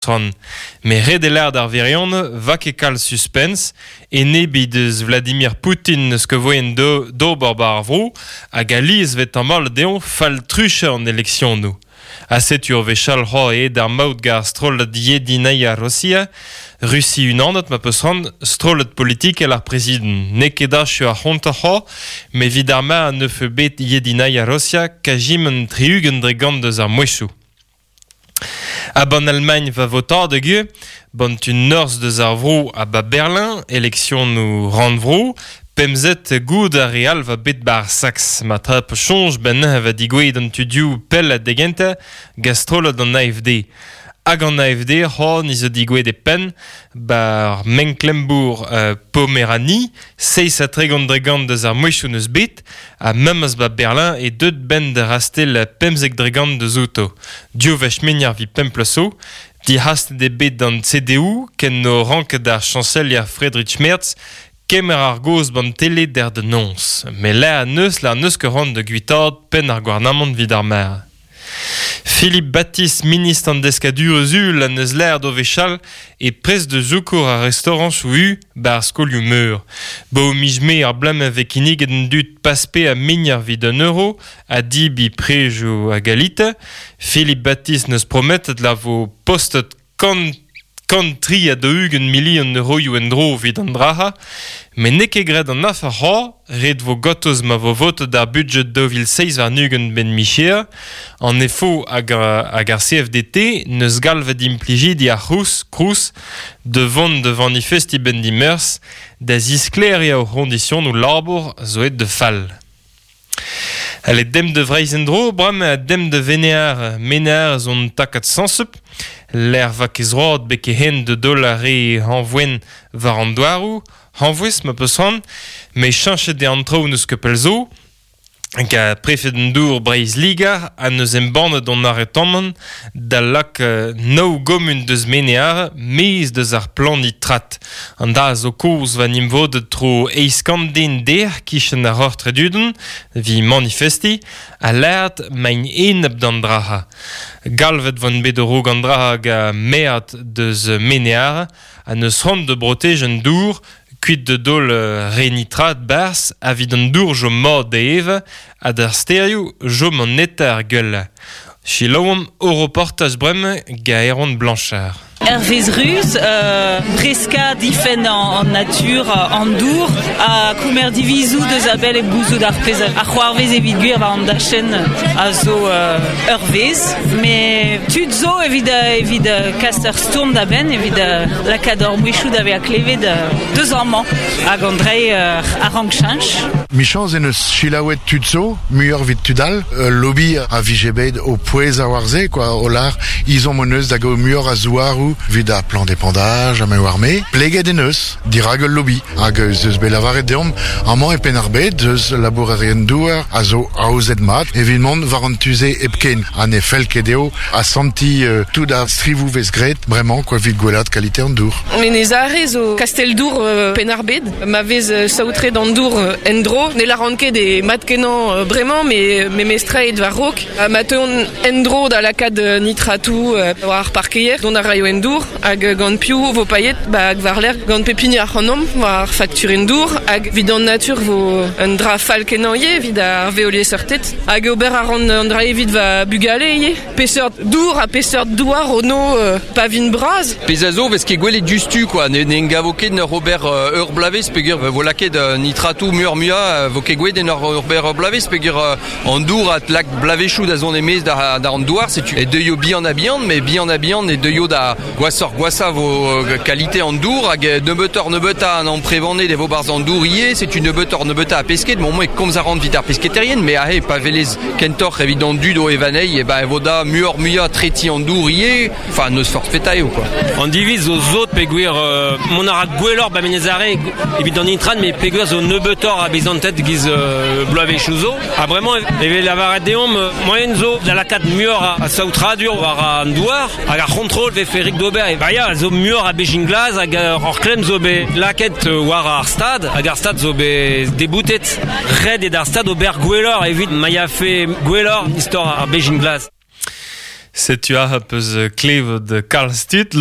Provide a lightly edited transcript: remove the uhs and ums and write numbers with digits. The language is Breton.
Tron. Met ret eo lâret ar wirionez 'va ket kalz suspens, enebiñ deus Vladimir Poutin n'eus ket voaien d'ober 'ba ar vro hag alies 'vez tamallet dezhañ fall-truchañ an eleksionoù. Ha setu ur wech all c'hoazh aet ar maout gant ar strollad Yedinaya Rossiya, Rusi unanet ma peus c'hoant, strollad politikel ar prezidant. N'eo ket achu ar c'hontañ c'hoazh, met evit ar mare 'neufe bet Yedinaya Rossiya kajiment 60% deus ar mouezhioù. Ha 'ban Almagn va votadeg ivez, 'ban tu norzh deus ar vro ha 'ba Berlin, eleksionoù rannvro, pemzet goût ar re all 'va bet 'ba ar Saks. Ma trap soñj 'benn neuze 'va digouezhet an tudioù pellañ da gentañ gant strollad an AFD. Hag an AFD c'hoazh ni zo digouezhet e penn 'ba ar Mecklembourg Pomeranie, 37% deus ar mouezhioù 'neus bet. Ha memes 'ba Berlin eo deuet 'benn da rastell 15% deus outo. Div wech muioc'h evit pemp bloaz zo. Dic'hastet eo bet an CDU ken 'no ranket ar chañselier Friedrich Merz kemer ar gaoz 'ban tele dec'h da noz. Met lec'h 'neus lec'h 'neus ket c'hoant da guitaat penn ar gouarnamant 'vit ar mare. Philippe Baptiste, ministr an deskadurezh uhel en deus lâret o wechall e prest da zoukour ar restaorañchoù-u 'ba ar skolioù-meur. 'Ba miz Mae ar bloaz ma vez kinniget an dud paspe ha mignañ evit un euro ha debriñ prejoù a galite. Philippe Baptiste 'neus prometet la vo postet kant 143 milion euroioù en-dro evit an dra-se, met n'eo ket graet an afer c'hoazh, ret 'vo gortoz ma vo votet ar budjed 2027 'benn micher. An EFO hag, hag ar CFDT 'neus galvet implijidi ar C'hrous, Crous da vont da vanifestiñ 'benn dimeurzh da zisklêriañ o c'hoñdisionoù labour zo aet da fall. Ale demp da Vreizh en-dro, bremañ demp da Venear. Menear zo un takad sañsep. Lec'h 'va ket zroad betek hen da daol ar re hañvoen war an douaroù. Hañvouez ma peus c'hoant. Met cheñchet eo an traoù n'eus ket pell zo. Hag prefed an dour Breizh-Liger ha 'neus embannet hon aretamant da lak nav gomun deus Menear maez deus ar plan nitrat. An dra zo kozh va nimvodet tro eizh kant den dec'h kichen ar Roc'h Tredudenn evit manifestiñ ha lâret 'maint enep d'an dra-se. Galvet 'voent bet a-raok an dra hag maer deus Menear ha 'neus c'hoant da brotejiñ an dour kuit da daol re nitrat 'barzh evit an dour 'chom mat da evañ ha d'ar stêrioù 'chom an netañ ar gwellañ. Selaouomp ho reportaj bremañ gant Erwan Blanchard. Hervez Ruz, breskañ difenn an natur, an dour, ha kemer divizoù deus a-bell hep gouzout ar pezh a c'hoarvez evit gwir war an dachenn a zo ur vezh. Met tud zo evit, evit kas ur stourm da benn, evit lakaat hor mouezhioù da vezañ klevet deus amañ hag an dreiñ a rank cheñch. Michañs en deus selaouet tud zo, muioc'h evit tud all. Ul lobby a vije bet o pouezañ war se, quoi, o lâr ezhomm hon eus da gaout muioc'h a zouaroù evit ar plan d'épandage ha me oar-me. Pleget en deus dirak ul lobby hag ez eus bet lavaret deomp amañ e Penn-ar-Bed eus labourerien-douar a zo aozet mat evit mont war an tu-se hepken ha ne fell ket dezho asantiñ tout ar strivoù 'vez graet bremañ quoi evit gwellaat kalite an dour. Menez-Are zo kastell-dour Penn-ar-Bed ma vez saotret an dour en-dro. Ne lâran ket eo mat-kenañ bremañ met memestra eo war-raok. Ma teuont en-dro da lakaat nitratoù war ar parkeier, dont a raio en dour hag gant piv vo paeet ba hag war-lerc'h gant pep hini ac'hanomp war ar fakturenn dour hag evit an natur vo un dra fall-kenañ ivez evit ar veoliesseurted hag ober a ran an dra evit va bugale ivez. Peseurt dour ha peseurt douar ono pa vin bras? Pezh a zo 'vez ket gwelet diouzhtu quoi, ne ne gavo ket 'n ur ober ur bloavezh peogwir vo lakaet nitratoù muioc'h-muiañ vo ket gwelet en ur ober ur bloavezh peogwir An dour a lak bloavezhioù da zont e-maez da, da an douar, setu e deuio bihan-ha-bihan, met bihan-ha-bihan e deuio da gwashoc'h-gwashañ vo kalite an dour hag nebeutoc'h-nebeutañ an amprevaned e vo 'barzh an dour ivez, setu nebeutoc'h-nebeutañ a pesked. Bon, moi e komz a ran evit ar pesketerien, mais aze pa welez kentoc'h evit an dud o evañ anezhi, e ben e vo da muioc'h-muiañ tretiñ an dour ivez, enfin n'eus forzh petra eo quoi. An diviz zo sot peogwir mont a ra gwelloc'h ba Menez-Are evit an intran met peogwir zo nebeutoc'h a bezanted giz bloavezhioù zo. Ha bremañ e vez lavaret deomp moaien zo da lakaat muioc'h a saotradur war an douar hag ar c'hontrol vefe rik d'ober. Ba ya, zo muioc'h a bezhin glas hag ur klemm zo bet lakaet war ar stad hag ar stad zo bet deboutet. Ret eo d'ar stad ober gwelloc'h evit ma yafe gwelloc'h istor ar bezhin glas. Setu a peus klevet kalz tud.